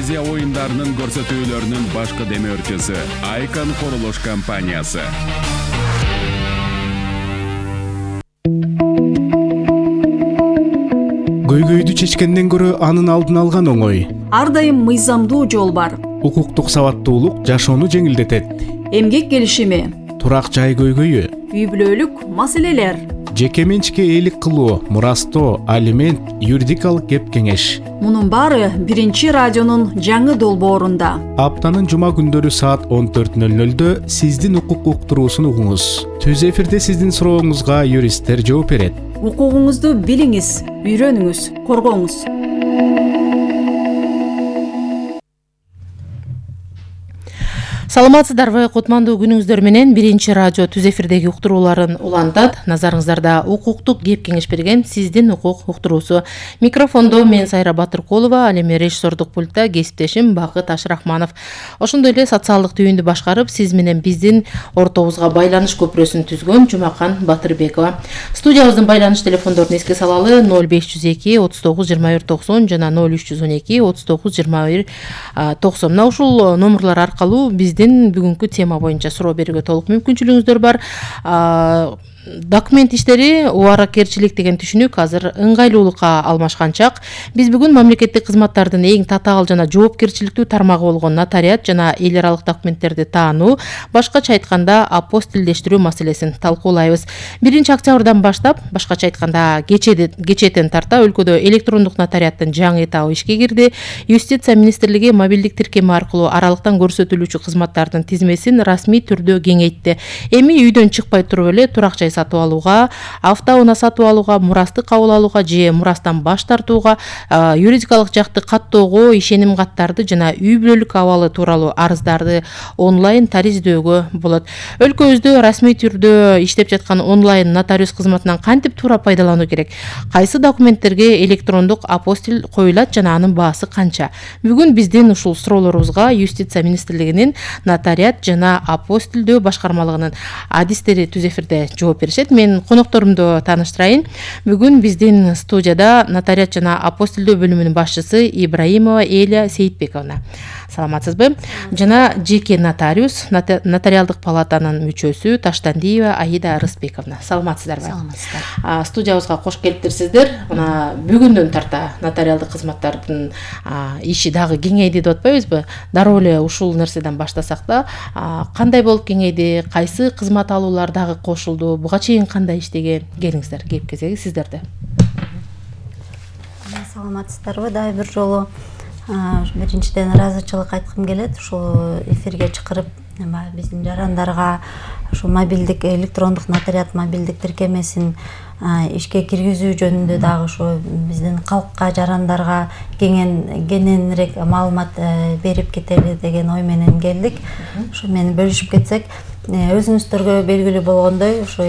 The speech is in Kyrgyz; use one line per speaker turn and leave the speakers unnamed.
Азия оюндарынын көрсөтүүлөрүнүн башкы демөөрчүсү Айкон курулуш компаниясы.
Көйгөйдү чечкенден көрө анын алдын алган оңой.
Ар дайым мыйзамдуу жол бар.
Укуктук сабаттуулук жашоону жеңилдетет.
Эмгек келишими,
Турак жай көйгөйү,
үй бүлөлүк маселелер,
жеке менчикке ээлик кылуу, мурастоо, алимент, юридикалык кеп кеңеш.
мунун баары биринчи радионун жаңы долбоорунда.
Аптанын жума күндөрү саат 14:00 сиздин укук уктуруусун угуңуз. Түз эфирде сиздин сурооңузга юристтер жооп берет.
Укугуңузду билиңиз, үйрөнүңүз, коргоңуз.
Саламатсыздарбы, кутмандуу күнүңүздөр менен биринчи радио түз эфирдеги уктурууларын улантат. Назарыңыздарда укуктук кеп кеңеш берген сиздин укук уктуруусу. Микрофондо мен Сайра Батыркулова, ал эми режиссердук пультта кесиптешим Бакыт Ашрахманов. Ошондой эле социалдык түйүндү башкарып, сиз менен биздин ортобузга байланыш көпүрөсүн түзгөн Жумакан Батырбекова. Студиябыздын байланыш телефондорун эске салалы: 0502 39 21 90 жана 0312 39 21 90. Мына ушул номерлар аркылуу биздин бүгүнкү тема боюнча суроо берүүгө толук мүмкүнчүлүгүңүздөр бар. Документ иштери убаракерчилик деген түшүнүк азыр ыңгайлуулукка алмашкан чак. Биз бүгүн мамлекеттик кызматтардын эң татаал жана жоопкерчиликтүү тармагы болгон нотариат жана эл аралык документтерди таануу, башкача айтканда апостилдештирүү маселесин талкуулайбыз. 1-октябрдан баштап, башкача айтканда кечээден тарта өлкөдө электрондук нотариаттын жаңы этабы ишке кирди. Юстиция министрлиги мобилдик тиркеми аркылуу аралыктан көрсөтүлүүчү кызматтардын тизмесин расмий түрдө кеңейтти. Эми үйдөн чыкпай туруп эле турак жай сатып алууга, автоунаа сатып алууга, мурасты кабыл алууга же мурастан баш тартууга, юридикалык жакты каттоого, ишеним каттарды жана үй бүлөлүк абалы тууралуу арыздарды онлайн тариздөөгө болот. Өлкөбүздө расмий түрдө иштеп жаткан онлайн нотариус кызматынан кантип туура пайдалануу керек? Кайсы документтерге электрондук апостиль коюлат жана анын баасы канча? Бүгүн биздин ушул суроолорубузга Юстиция министрлигинин нотариат жана апостилдөө башкармалыгынын адистери түз эфирде жооп беришет. Мен конокторумду тааныштырайын. Бүгүн биздин студияда нотариат жана апостилдөө бөлүмүнүн башчысы Ибраимова Эля Сейитбековна. Саламатсызбы? Жана жеке нотариус, нотариалдык палатанын мүчөсү Таштандиева Аида Рысбековна. Саламатсыздарбы?
Саламатсыздар.
Студиябызга кош келиптирсиздер. Мына бүгүндөн тарта нотариалдык кызматтардын иши дагы кеңейди деп атпайбызбы? Дароо эле ушул нерседен баштасак да, кандай болуп кеңейди, кайсы кызмат алуулар дагы кошулду, буга чейин кандай иштеген? Келиңиздер, кеп кезеги сиздерде.
Саламатсыздарбы? Дагы бир жолу биринчиден ыраазычылык айткым келет. Ушул эфирге чакырып, биздин жарандарга ушу мобилдик электрондук нотариат мобилдик тиркемесин ишке киргизүү жөнүндө дагы ушу биздин калкка, жарандарга кененирээк маалымат берип кетели деген ой менен келдик. Ушу менен бөлүшүп кетсек, өзүңүздөргө белгилүү болгондой, ушу